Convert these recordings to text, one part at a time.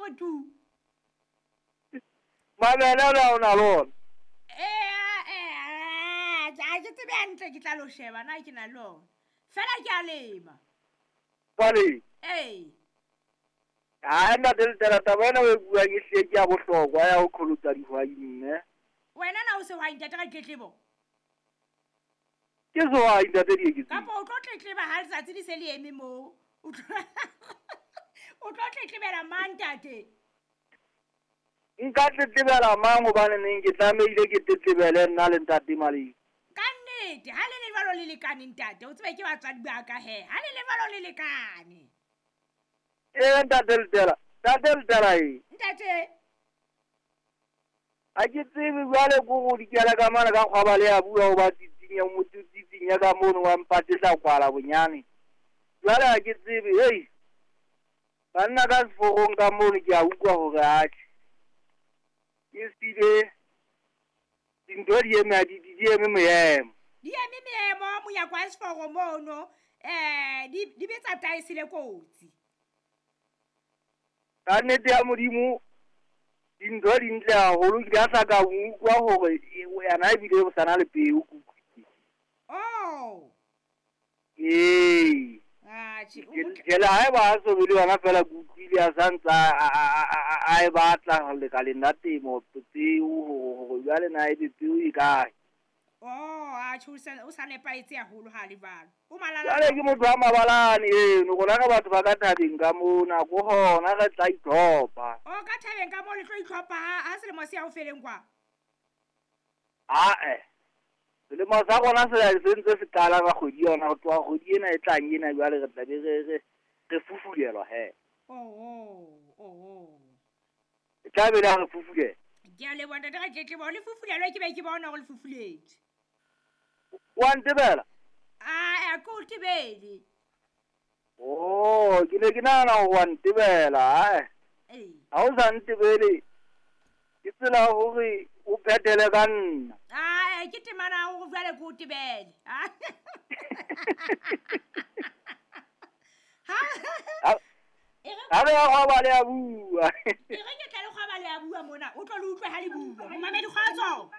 hore tu. Mabele o na o na le ona? Ee, ha ke tsebe hantle, ke tla lo sheba na ke na le ona. Fela ke a lema. Jwale? Ee. Hai ntate Letela, taba ena o e buang e hlile ke ya bohlokwa ya ho qholotsa dihwai mme. Wena na o sehwai ntate ka ditletlebo? Ke sehwai ntate Dieketseng. Kapa o tlo tletleba ha letsatsi le se le eme moo? O tlo tletlebela mang ntate? Nka tletlebela mang hobane neng ke tlamehile ke tletlebele nna le ntate Maleng? Ka nnete, ha le le jwalo le lekane ntate, o tsebe ke batswadi ba ka he. Ha le le jwalo le lekane. Ee ntate Letela, ntate Letela e. Ntate. Ha ke tsebe jwale ko go dikela ka mane ka kgwaba le ya bua ho ba tsitsinya motho tsitsinya ka mono wa mpatisa kwala bonyane. Jwale ha ke tsebe, hei. Banna ka seforong ka mono ke a utlwa hore atjhe. Ke sile dintho di eme di eme moemo. Di eme meemo monyako wa seforo mono, di betsa taese le kotsi. Ka nnete ya Modimo dintho di ntle haholo, ke a sa ka utlwa hore yena ebile o sana le peo ke utlwile. Oh. Ee. Atjhe, Jele haeba a so be le yona fela ke utlwile a sa ntsa a e batla lekaleng la temo peo hore jwale na ebe peo e kae. Oh, atjhe, o sa nepahetse haholo ha le jwalo. O malala. Jwale ke motho wa mabalane eno, rona re batho ba ka thabeng ka mona, ko hona re tla itlhopha. Oh, ka thabeng ka moo le tlo itlhopha ha selemo se ya ho feleng kwa? Ae. Selemo sa rona se ntse se qala ka kgwedi yona, ho tloha kgwedi ena e tlang ena jwale re tla be re fufulelwa he. Oh. E tla be le re fufulelwa. Ke a leboha ntate Ratletlebo, le fufulelwa ke be ke bona hore le fufuletswe. Wa ntebela? Ae, ke o tebele. Oh, ke ne ke nahana hore wa ntebela, ae. Ee. Ha o sa ntebele, ke tsela hore o phethele ka nna. Ae, ke temana hore jwale ke o tebele. Ha re ya kgwaba le a bua. E re ke tla le kgwaba le a bua mona, o tlo le utlwe ha le bua. Momamedi kgotso.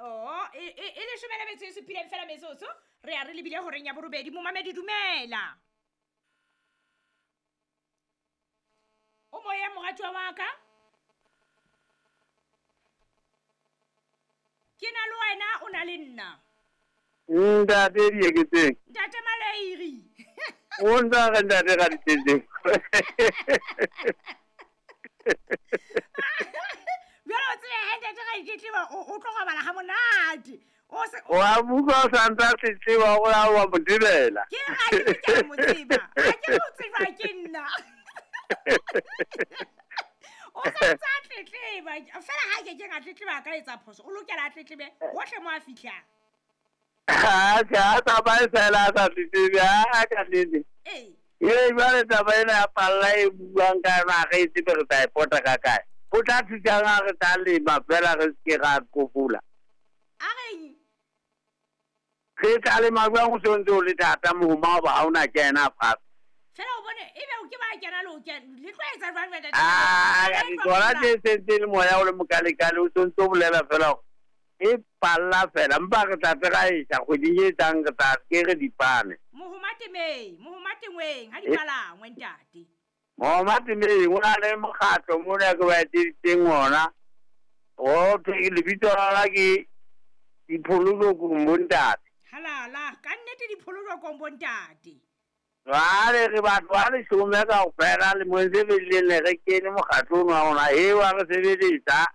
Oh, e leshome le metso e supileng fela metsotso, re ya re lebile horeng ya borobedi. Momamedi dumela. O moya moratuwa wa ka? Ke na le wena, o na le nna. Ntate Dieketseng. Ntate Maleiri. O ntsa re ntate Raditletseng. Jwale o tsebe he ntate Raditletseng o tlo robala ha monate. O a bua o sa ntsa tletleba o a wa mo tebela. Ke ha ke ke mo tseba. Ha ke mo tseba ke nna. O sa ntsa tletleba. Fela ha ke ke nga tletleba ka etsa phoso. O lokela a tletlebe hohle mo a fihlang. Ha ke a tsamaya fela a sa tletlebe, a ka nnete. Ee. Ee, jwale taba ena ya palla e buang ka yona ha re e tsebe re tla e pota ka kae. Ho tla thusang ha re tla lema fela re se ke ra kopola. A reng? Re tla lema jwang ho se ntse o le thata mohoma hoba ha ona kena fatshe. Fela o bone ebe o ke ba kena le o kena. Le tlo etsa jwang jwale? Ah, tsona tse sentse le moya o le mokalekale o se ntse o bolela fela hore e palla fela mpa re tla tsega e sa kgweding e tlang re tla ke re dipane. Mohoma temeng, mohoma tengweng ha di palangwe ntate. Mohoma temeng o na le mokgatlo mona ke ba etseditseng ona. O thwe lebitso la ke Diphololokong bontate. Halala, ka nnete Diphololokong bontate. Jwale re batho ba leshome kaofela lemong se fetileng re kene mokgatlong wa rona eo wa re sebeletsa.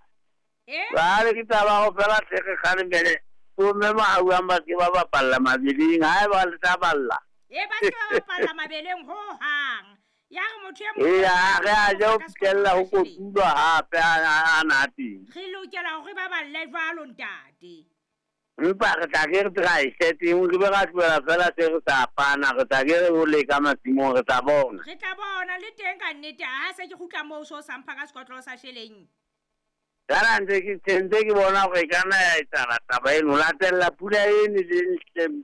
Jwale ke taba ho fela tle re kgalemele bomme mahauang ba se ba bapalla mabeleng ha eba le tla balla. E ba se ba bapalla mabeleng ho hang. Ya re motho e mong e ya re a je ho fihlella ho kotulwa hape a na teng. Re lokela hore ba balle jwalo ntate. Empa re tla ke re tla e seteng re be ra tlohela fela se re sa pana, re tla ke re ho leka masimong re tla bona. Re tla bona le teng ka nnete ha se ke kgutla moo so sa mpha ka sekotlolo sa sheleng. Jwale ntse ke tshentse ke bona hore e ka nna ya etsahala taba eno, latella pula eno le ntle.